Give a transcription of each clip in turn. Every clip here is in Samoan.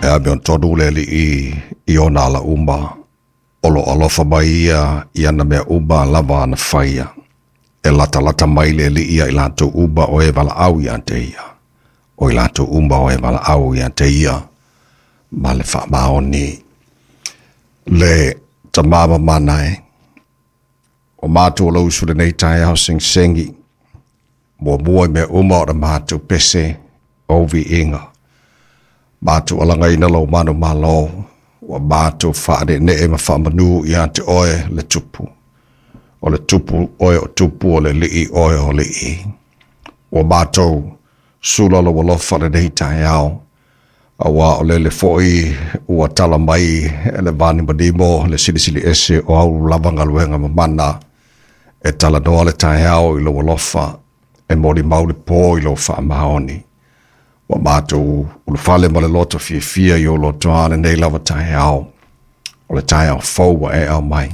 E amiotonu le Alii i ona ala uma, o lo o alofa mai ia i ana mea uma lava na faia. E latalata mai le Alii ia i latou uma o e valaau ia te ia, o i latou uma o e valaau ia te ia ma le faamaoni. Le Tama mamana e, o matou o lau usu lenei taeao segisegi, muamua i mea uma o le matou pese o viiga. Matou alagaina lou manumalo, ua matou faaneenee ma faamanu ia te oe le Tupu. O le Tupu oe o Tupu, o le Alii oe o Alii. Ua matou sula lou alofa lenei taeao, aua o lele foi ua tala mai le vanimonimo le silisili ese o au lava galuega mamana. E talanoa le taeao i lou alofa, e molimau le po i lou faamaoni. Ua matou ulufale ma le loto fiafia i ou lotoa lenei lava taeao, o le taeao fou ua e aumai.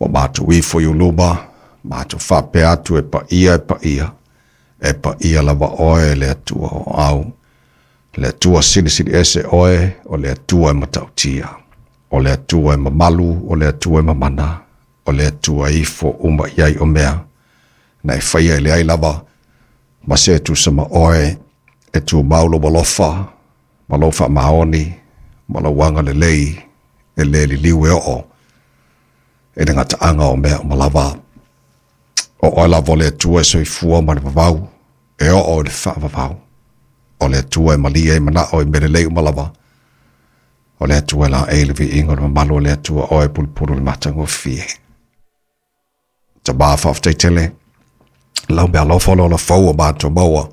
Ua matou ifo i ou luma, matou faapea atu e paia e paia, e paia lava oe le Atua o au. Le Atua silisili ese oe, o le Atua e matautia. O le Atua e mamalu, o le Atua e mamana, o le Atua e ifo uma i ai o mea. Na e faia e leai lava, ma se tusa ma oe, e tumau lou alofa, ma lou faamaoni, ma lou agalelei, e le liliu e oo, e le gataaga o mea uma lava. O oe lava o le Atua e soifua ma le vavau, e oo i le faavavau. O le Atua e malie ai manao i mea lelei uma lava. O le Atua e laei le viiga o le mamalu o le Atua oe pulupulu le matagofie. Tama faafetai tele, lau mea alofa o le ola fou o matou maua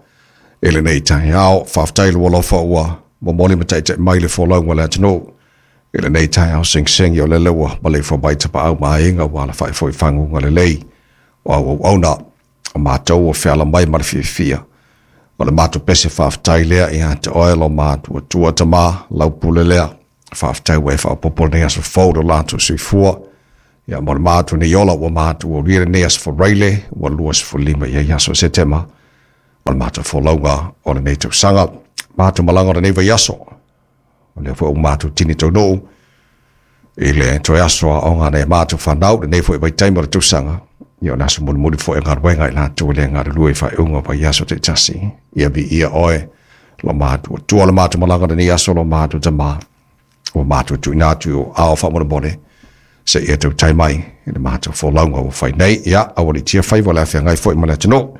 i lenei taeao. Faafetai lou alofa ua momoli ma taitai mai le folauga o le atunuu i lenei taeao segisegi o lele ua maleifua mai tapaau ma aiga ua alafai foi i faguga lelei o au auauna. O matou ua feala mai ma le fiafia. O le matou pese faafetai lea ia te oe lo matou Atua Tama, lau pule lea. Faafetai ua e faaopoopo lenei aso fou lo latou soifua. Ia mo le matou nei ola ua matou aulia lenei aso Faraile ua 25 i ai aso o Setema o le matou folauga o lenei tausaga. Matou malaga o lenei vaiaso. O lea foi ua matou tini taunuu i le toe aso aoga a nai a matou fanau lenei foi vaitaimi o le tausaga. Ia o le aso mulimuli foi o galuega i latou e le galulue i faaiuga o vaiaso taitasi. Ia viia oe lo matou Atua le matou malaga lenei aso lo matou Tama. Ua matou tuuina atu i ou aao faamolemole seia tautai mai i le matou folauga ua fai nei. Ia, aualiitia faiva o le a feagai foi ma le atunuu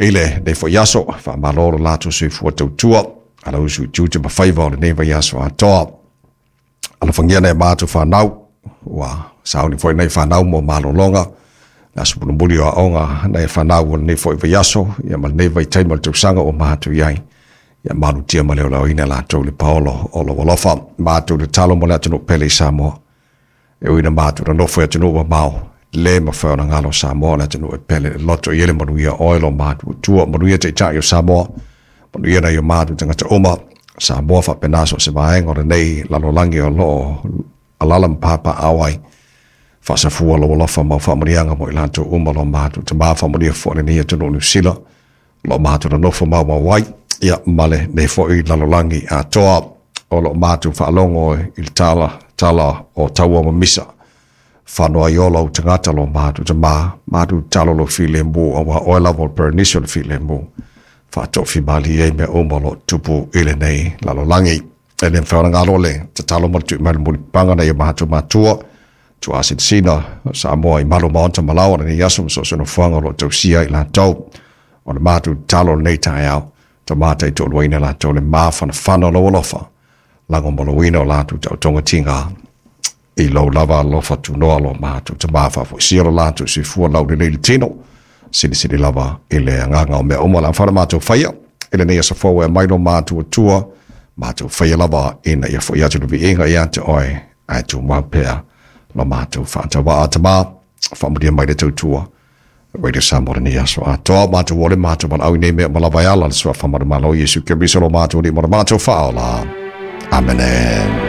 i lenei foi aso. Faamalo lo latou soifua tautua a lau usu i tiute ma faiva o lenei vaiaso atoa. Alofagia nai a matou fanau, ua sauni foi nai fanau mo malologa, le aso mulimuli o aoga nai fanau o lenei foi vaiaso, ia ma lenei vaitaimi o le tausaga ua matou i ai. Ia malutia ma le olaoina latou i le paolo o lou alofa. Matou tatalo mo le atunuu pele i Samoa. E ui ina matou nonofo i atunuu mamao, le mafai ona galo Samoa o le atunuu e pele le loto i ai le manuia oe lo matou Atua. Manuia Taitai o Samoa, manuia nai o matou tagata uma, Samoa faapena so o se vaega o lenei lalolagi o lo o alaala ma papaaao ai. Faasafua lou alofa ma au faamanuiaga mo i latou uma lo matou Tama, faamanuia foi lenei atunuu o Niu Sila, o lo o matou nonofo maumau ai, ia ma lenei foi lalolagi atoa o lo o matou faalogo i le tala, tala o taua ma misa. Fano ai o lou tagata lo matou Tama, matou tatalo lou filemu, aua oe lava o le Perenisi o le filemu. Faatofimalie ai mea uma o lo o tupu i lenei lalolagi. E le mafai ona galo le tatalo ma le tui mai le mulipapaga nai o matou matua, tuasinasina Samoa i malu maota ma laoa lenei aso ma so o se nofoaga o lo o tausia ai i latou. O le matou tatalo lenei taeao, Tama taitoaluaina latou le mafanafana o lou alofa, lagomoloina o latou taotoga tiga i lou lava alofa tunoa lo matou Tama, faafoisia lo latou soifua laulelei i le tino, silisili lava i le agaga o mea uma o le a mafai ona matou faia i lenei aso fou e aumai lo matou Atua, matou faia lava ina ia foi atu le viiga ia te oe, ae tumau pea lo matou faatauvaa. Tama, faamanuia mai le tautua Radio Samoa lenei aso atoa. Matou ole matou valaau i nei mea uma lava e ala le suafa manumalo o Iesu Keriso lo matou Alii ma lo matou Faaola. Amene.